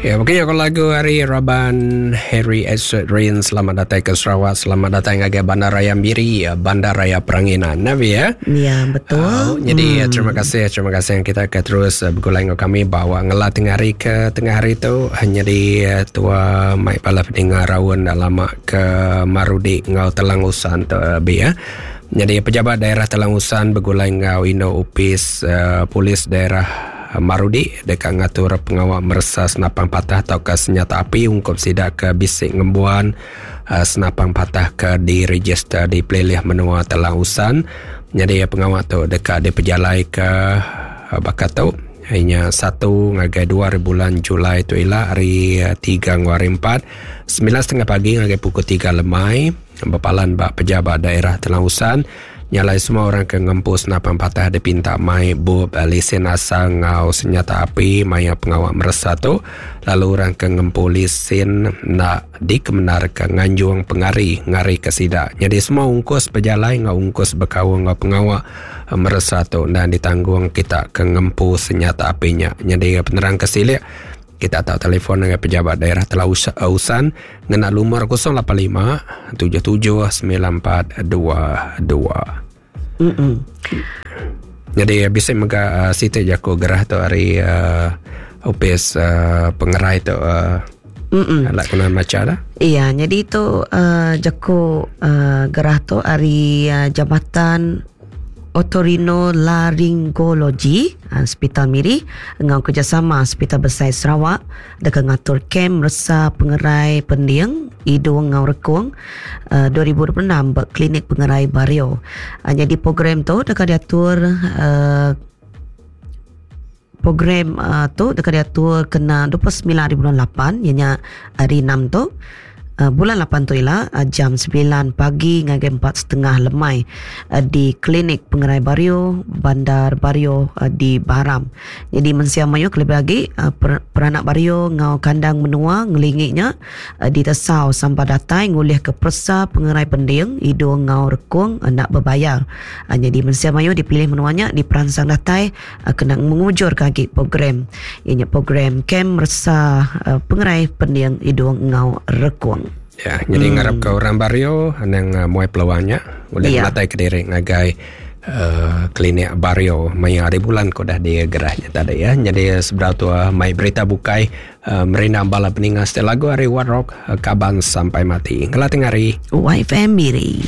Ya, mungkin aku lagu hari Raban Harry Edward Rain. Selamat datang ke Sarawak, selamat datang ngagai Bandaraya Miri, ya, Bandaraya Peranginan. Nabi ya. Ya, betul. Oh, jadi terima kasih, terima kasih yang kita ke terus begulai dengan kami bawa ngelah tengah hari ke tengah hari tu hanya di tua mai pala peninga raun dah lama ke Marudi ngau Telang Usan tu bi ya. Jadi pejabat daerah Telang Usan begulai ngau Indo Upis uh, Polis Daerah Marudi deka ngatur pengawa meresa senapang patah tauka senyata api ungkup sida ke bisi ngembuan senapang patah ke direjister di Pelilih Menua Telang Usan. Nyadi pengawa tu deka dipejalaika baka tu inya satu ngagai dua hari bulan Julai tu ila hari tiga enggau hari empat 9.30 pagi ngagai pukul 3 lemai bepalan ba pejabat daerah Telang Usan. Nya alai semua orang ke ngempu senapang patah dipinta mai bup lisin asal enggau senyata api maya pengawa meresa tu lalu orang ke ngempu lisin enda dikemendarka nganjung pengari ngarika sida. Nyadi semua ungkus pejalai enggau ungkus bekaul enggau pengawa meresa tu endang ditanggung kita ke ngempu senyata api nya. Nyadi penerang ke silik Kita tau telefon ngagai pejabat daerah Telau Usan ngena lumur 085 77 94 22. Mm-mm. Jadi bisi mega uh, siti jaku gerah tu ari uh, opis uh, pengerai tu uh, Mm-mm. Alak kena maca lah. Iya, jadi tu uh, jaku uh, gerah tu ari uh, Jabatan Otorinolaryngology Sepital Miri enggau kerejasama Sepital Besai Sarawak deka ngatur Kem Meresa Pengerai Pending, Idung enggau Rekung 2026 ba Klinik Pengerai Bario. Nyadi program tu deka diatur program tu deka diatur kena 29 hari bulan lapan iya nya hari enam tu. Bulan lapan tu ila jam semilan pagi ngagai empat setengah lemai di Klinik Pengerai Bario, Bandar Bario di Baram. Nyadi mensia mayuh kelebih agi peranak Bario enggau kandang menua ngelingi nya ditesau sampah datai ngulihka peresa pengerai pending, idung enggau rekung enda bebayar. Nyadi mensia mayuh di pelilih menua nya diperansang datai Kena ngujurka agi program iya nya program Kem Meresa Pengerai Pending Idung enggau Rekung. Ya, jadi ngarapka orang Bario anang muai peluang nya ulih ya. ngenatai kediri ngagai uh, klinik Bario maya hari bulan ke udah digerah nya tadi ya. Jadi sebedau tu mai berita bukai uh, merindang bala peninga setiap lagu ari What Rock Kaban Sampai Mati. Ngela tengah hari. YFM Miri.